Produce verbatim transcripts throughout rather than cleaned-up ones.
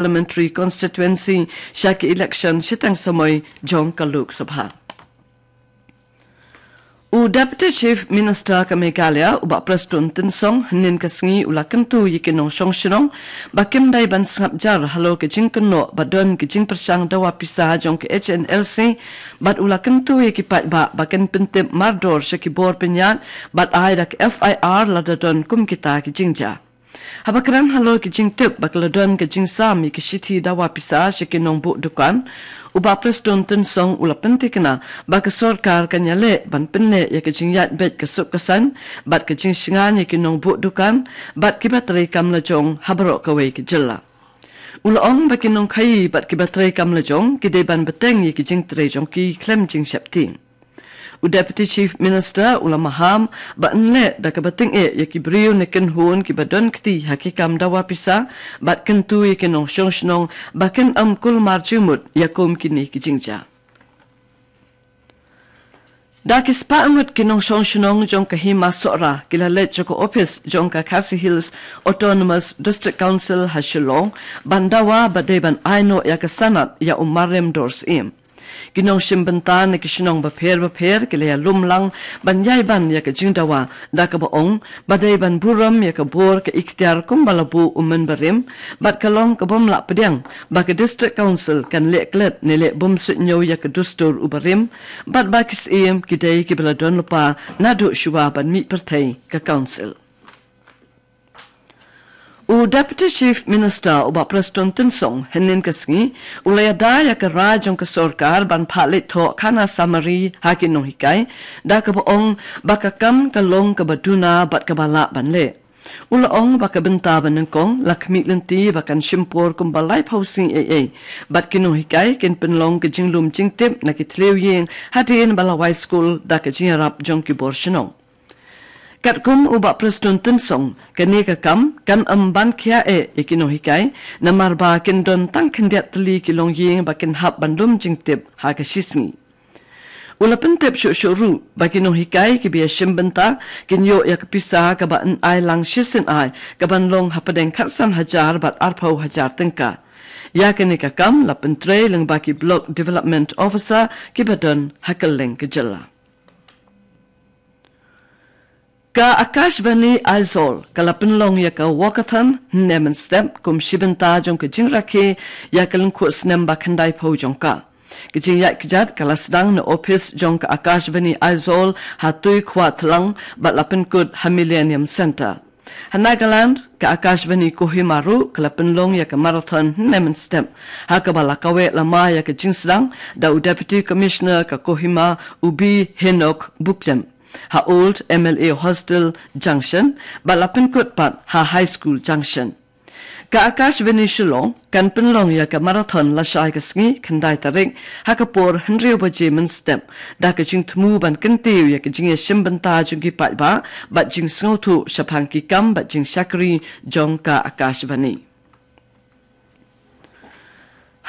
Parliamentary Constituency sha ki election shiteng samoi jong ka Lok Sabha. U Deputy Chief Minister ka Meghalaya, u Bah Prestone Tynsong, hynnin ka sngi u la kyntu ïa ki nongshong shnong ba kim dei ban sngap jar halor ka jingkynnoh ba don ka jingpyrshang dawa pisa jong ka H N L C, bad u la kyntu ïa ki paidbah ba kin pyntip mardor sha ki bor pynïaid bad ai da ka F I R lada don kum kita ki jingjia. Haba kren halor ki jingtip ba ka la don ka jingsam ïa ki shithi dawa pisa sha ki nongbuh dukan, u Bah Prestone Tynsong u la pynthikna ba ka sorkar kan ïaleh ban pynneh ïa ka jingïaid beit ka suk ka saiñ bad ka jingshngaiñ ïa ki nongbuh dukan bad kiba trei kam lajong ha baroh kawei ka jylla. U la ong ba ki nongkhaïi bad kiba trei kam lajong ki dei ban bteng ïa ki jingtrei jong ki khlem jingsheptieng. U Deputy Chief Minister u la maham ba yn leh da kaba tyngeh ïa ki briew ne kynhun kiba don kti ha ki kam dawa pisa bad kyntu ïa ki nongshong shnong ba kin ym kulmar jingmut ïa kum kine ki jingjia. Da ki spah ngut ki nongshong shnong jong ka Hima Sohra ki la leit sha ka ophis jong ka Khasi Hills Autonomous District Council ha Shillong ban dawa ba dei ban ai noh ïa ka sanad ïa u marim dor syiem. Ki nongshim bynta na ki shnong bapher bapher ki la ïalum lang ban ïai ban ïa ka jingdawa da kaba ong ba dei ban burom ïa ka bor ka iktiar kumba la buh u mynbarim bad ka long kabym lah pdiang ba ka District Council kan leh klet ne leh bym suidñiew ïa ka dustur u barim bad ba ki syiem ki dei kiba la don lypa naduh shuwa ban mih pyrthei ka Council. U Deputy Chief Minister u Bah Prestone Tynsong hynnin ka sngi u la ïada ïa ka rai jong ka sorkar ban phah leit thoh khana samari ha ki nonghikai da kaba ong ba ka kam ka long kaba duna bad kaba lah ban leh. U la ong ba ka bynta ba nyngkong la khmih lynti ba kan shim por kumba laiphew sngi ei ei bad ki nonghikai kin pynlong ka jinglum jingtip na ki thliew ïing hadien ba la wai skul da ka jingïarap jong ki bor shnong. Katkum u Bah Prestone Tynsong, kane ka kam kan ym ban khia eh ïa ki nonghikai namar ba kin don tang khyndiat tylli ki longïing ba kin hap ban lum jingtip ha ka shisngi. U la pyntip shuh shuh ruh ba ki nonghikai kiba ïashim bynta kin ïoh ïa ka pisa kaba yn ai lang shisien ai kaban long hapdeng khatsan hajar bad arphew hajar tyngka. Ïa kane ka kam la pyntrei lyngba ki Block Development Officer kiba don ha kylleng ka jylla. Ka Akashvani Aizawl ka la pynlong ïa ka walkathon hynne mynstep kum shi bynta jong ka jingrakhe ïa ka lyngkhuh snem ba khyndai phew jong ka. Ka jingïaid kjat ka la sdang na ophis jong ka Akashvani Aizawl ha Tuikhwatlang bad la pynkut ha Millennium Centre. Ha Nagaland, ka Akashvani Kohima ruh ka la pynlong ïa ka marathon hynne mynstep ha kaba la kaweh lama ïa ka jingsdang da u Deputy Commissioner ka Kohima, u B Henok Buklem, ha Old M L A Hostel Junction bad la pynkut pat ha High School Junction. Ka Akashvani Shillong kan pynlong ïa ka marathon lashai ka sngi khyndai tarik ha ka por hynriew baje mynstep da ka jingthmu ban kyntiew ïa ka jingïashim bynta jong ki paidbah bad jingsngewthuh shaphang ki kam bad jingshakri jong ka Akashvani.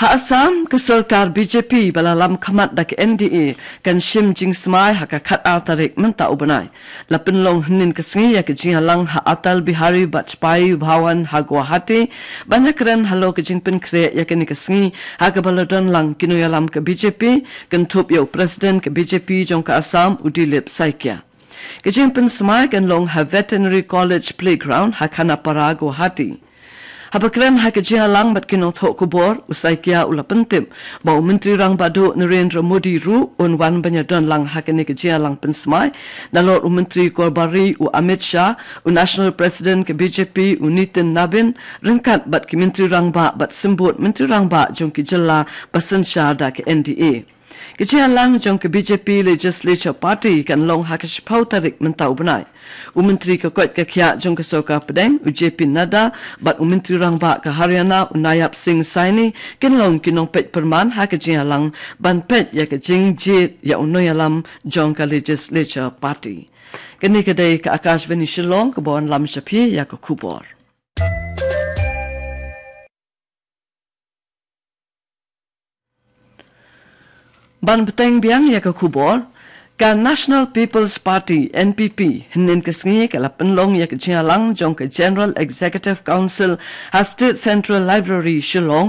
Ha Assam, ka sorkar B J P ba la lam khmat da ka N D A kan shim jingsmai ha ka khatar tarik mynta u bnai. La pynlong hynnin ka sngi ïa ka jingïalang ha Atal Bihari Vajpayee Bhawan ha Guwahati ban ïakren halor ka jingpynkhreh ïa kane ka sngi ha kaba la don lang ki nongïalam ka B J P kynthup ïa u President ka B J P jong ka Assam, u Dilip Saikia. Ka jingpynsmai kan long ha Veterinary College Playground ha Khanapara, Guwahati. Haba kren ha ka jingïalang bad ki nongthoh khubor, u Saikia u la pyntip ba u Myntri Rangbah Duh Narendra Modi ruh un wan ban ïadon lang ha kane ka jingïalang pynsmai, nalor u Myntri Korbari u Amit Shah, u National President ka B J P u Nitin Nabin, ryngkat bad ki Myntri Rangbah bad Symbud Myntri Rangbah jong ki jylla ba synshar da ka N D A. Ka jingïalang jong ka B J P Legislature Party kan long ha ka shiphew tarik mynta u bnai. U Myntri ka koit ka khiah jong ka Sorkar Pdeng, u J P Nadda, bad u Myntri Rangbah ka Haryana, u Nayab Singh Saini, kin long ki nongpeit pyrman ha ka jingïalang ban peit ïa ka jingjied ïa u nongïalam jong ka Legislature Party. Kane ka dei ka Akashvani Shillong kaba wanlam sha phi ïa ka khubor. Ban bteng biang ïa ka khubor, Ka National People's Party, N P P, hynnin ka sngi ka la pynlong ïa ka jingïalang jong ka General Executive Council ha State Central Library, Shillong,